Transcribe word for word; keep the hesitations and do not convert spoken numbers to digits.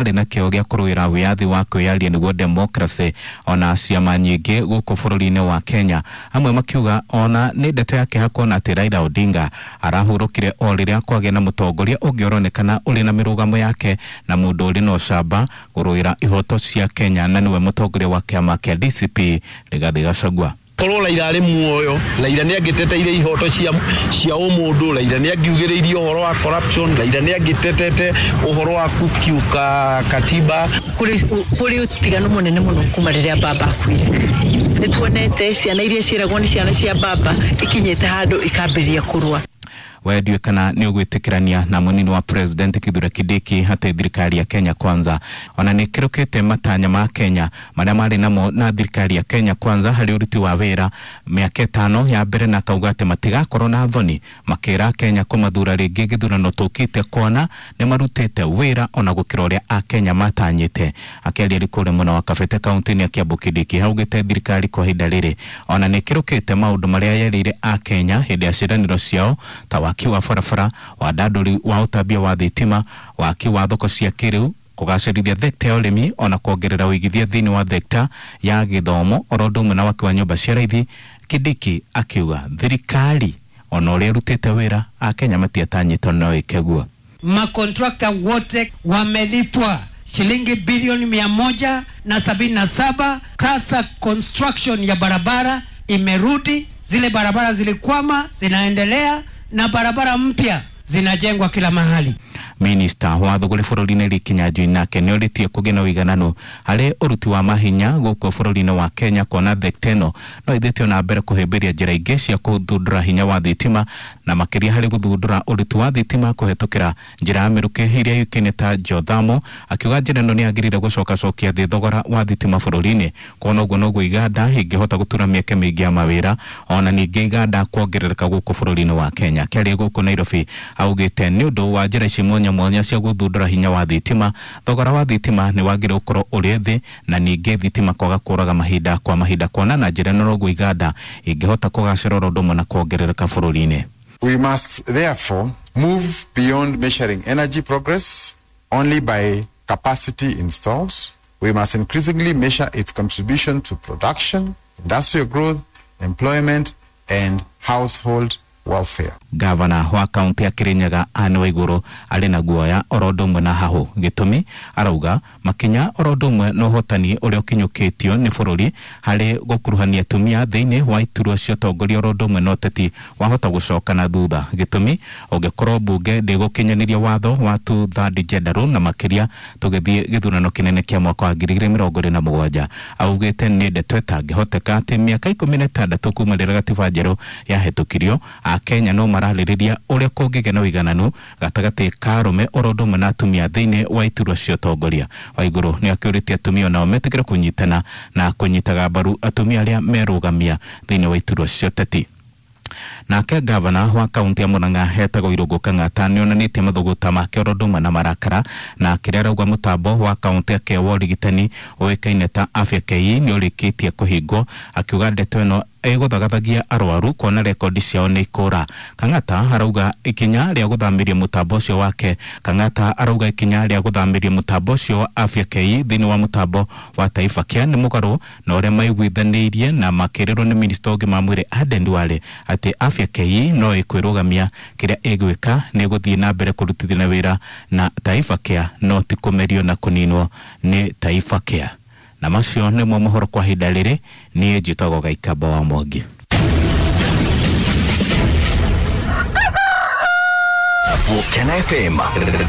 Arĩ na kĩo gĩa kũrũĩra wĩyathi wa kwĩyaria, nĩguo democracy, ona ciama nyingĩ gũkũ bũrũri-inĩ wa Kenya. Amwe makiuga ona nĩ ndeto ya kĩeha kuona atĩ Raila Odinga arahurũkire o rĩrĩa kwagĩa na mũtongoria ũngĩ ũronekana ũrĩ na mĩrũgamo yake na mũndũ ũrĩ na ũcamba kũrũĩra ihoto cia Kenya, na nĩwe mũtongoria wa kĩama kĩa D C P Rigathi Gachagua. Korwo Raila arĩ muoyo, Raila nĩ angĩteteire ihoto cia cia ũmũndũ, Raila nĩ angiugĩrĩirie ũhoro wa corruption, Raila nĩ angĩtetete ũhoro wa kukiuka katiba. Kũrĩ ũtiganu mũnene mũno kuma rĩrĩa baba akuire. Nĩ tuonete ciana iria ciĩragwo nĩ ciana cia baba ikinyĩte handũ ikambĩrĩria kũrũa. We ndiũĩ kana nĩ ũgwĩtĩkĩrania na mũnini wa president Kithure Kindiki atĩ thirikari ya Kenya Kwanza ona nĩ ĩkĩrũkĩte matanya ma Kenya marĩa marĩ namo na thirikari ya Kenya Kwanza harĩ ũruti wa wĩra mĩaka ĩtano ya mbere, na akauga atĩ matigakorwo na thoni makĩra Kenya kũmathura rĩngĩ gĩthurano tũkĩte, kuona nĩ marutĩte wĩra ona gũkĩra ũrĩa akenya matanyĩte. Akĩaria arĩ kũrĩa mwena wa Kabete kaunti-inĩ ya Kiambu, Kindiki augĩte thirikari kwa ihinda rĩrĩ ona nĩ ĩkĩrũkĩte maũndũ marĩa yerĩire akenya hĩndĩ ya ciĩranĩro ciao, ta waki wa barabara, wandandũri wa ũtambia wa thitima, waki wa thoko cia kĩrĩu, kũgacĩrithia thekta ya ũrĩmi, ona kuongerera ũigithia thĩinĩ wa thekta ya gĩthomo, oro ũndũ ũmwe na waki wa nyũmba cia raithi. Kindiki akiuga thirikari ona ũrĩa ĩrutĩte wĩra, akenya matiatanyĩtwo no ĩke guo. Makontrakta wote wamelipwa shilingi bilioni mia moja na sabini na saba. Sasa construction ya barabara imerudi, zile barabara zilikwama zinaendelea na barabara mpya zinajengwa kila mahali. Minista wa thũgũrĩ bũrũri-inĩ Lee Kinyanjui nake nĩ orĩtie kũgĩe na ũigananu harĩ ũruti wa mahinya gũkũ bũrũri-inĩ wa Kenya, kuona thekta ĩno no ĩthĩtio na mbere kũhĩmbĩria njĩra ingĩ cia gũthundũra hinya wa thitima, na makĩria harĩ gũthundũra ũruti wa thitima kũhetũkĩra njĩra ya mĩrukĩ ĩrĩa yũĩkaine ta geothermal. Akiuga njĩra ĩno nĩ yagĩrĩire gũcokacokia thĩ thogora wa thitima bũrũri-inĩ, kuona ũguo noguo iganda ingĩhota gũtura mĩeke mĩingĩ ya mawĩra, ona ningĩ iganda kuongerereka gũkũ bũrũri-inĩ wa Kenya. Akĩaria gũkũ Nairobi, augĩte nĩ ũndũ wa njĩra ici mwanya mwanya cia gũthundũra hinya wa thitima, thogora wa thitima nĩ wagĩrĩire gũkorwo ũrĩ thĩ, na ningĩ thitima kwaga kũraga mahinda kwa mahinda, kuona na njĩra ĩno noguo iganda ingĩhota kũgacĩra oro ũndũ ũmwe na kuongerereka bũrũri-inĩ. We must therefore move beyond measuring energy progress only by capacity installed. We must increasingly measure its contribution to production, industrial growth, employment, and household welfare. Gavana wa kaunti ya Kirinyaga Anne Waiguru arĩ na guoya oro ũndũ ũmwe na hahũ. Gĩtũmi, arauga makinya oro ũndũ ũmwe na ũhotani ũrĩa ũkinyũkĩtio nĩ bũrũri harĩ gũkuruhania atumia thĩinĩ wa iturwa cia ũtongoria oro ũndũ ũmwe na ũteti wahota gũcoka na thutha. Gĩtũmi, ũngĩkorwo mbunge ndĩgũkinyanĩria watho wa two third gender rule, na makĩria tũgĩthiĩ gĩthurano kĩnene kĩa mwaka wa ngiri igĩrĩ mĩrongo ĩrĩ na mũgwanja. Augĩte nĩ ndeto ĩtangĩhoteka atĩ mĩaka ikũmi na ĩtandatũ kuma rĩrĩa gatiba njerũ yahĩtũkirio, akenya no mararĩrĩria ũrĩa kũngĩgĩa na ũigananu gatagatĩ ka arũme oro ũndũ ũmwe na atumia thĩinĩ wa iturwa cia ũtongoria. Waiguru nĩ akĩũrĩtie atumia onao metĩkĩre kũnyitana na kũnyitaga mbaru atumia arĩa merũgamia thĩinĩ wa iturwa cia ũteti. Nake gavana wa kaunti ya Murang'a etagwo Irũngũ Kang'ata nĩ onanĩtie mathũgũta make oro ũndũ ũmwe na marakara na kĩrĩa arauga mũtambo wa kaunti yake wa ũrigitani ũĩkaine ta Afya K E nĩ ũrĩkĩtie kũhingwo, akiuga ndeto ĩno ĩgũthagathagia arwaru kuona rekondi ciao nĩ ikũra. Kang'ata arauga ikinya rĩa gũthamĩria mũtambo ũcio wake Kang'ata arauga ikinya rĩa gũthamĩria mũtambo ũcio wa Afya K E thĩinĩ wa mũtambo wa Taifa Care nĩ mũgarũ na ũrĩa maiguithanĩirie na makĩrĩrwo nĩ minista ũngĩ ma mwĩrĩ Aden Duale atĩ Afya K E no ĩkwĩrũgamia, kĩrĩa ĩgwĩka nĩ gũthiĩ na mbere kũrutithania wĩra na Taifa Care, no ti kũmerio na kũninwo nĩ Taifa Care. Na macio nĩmo mohoro kwa ihinda rĩrĩ. Niĩ njĩtagwo Gaikamba wa Mwangi. Gukena F M.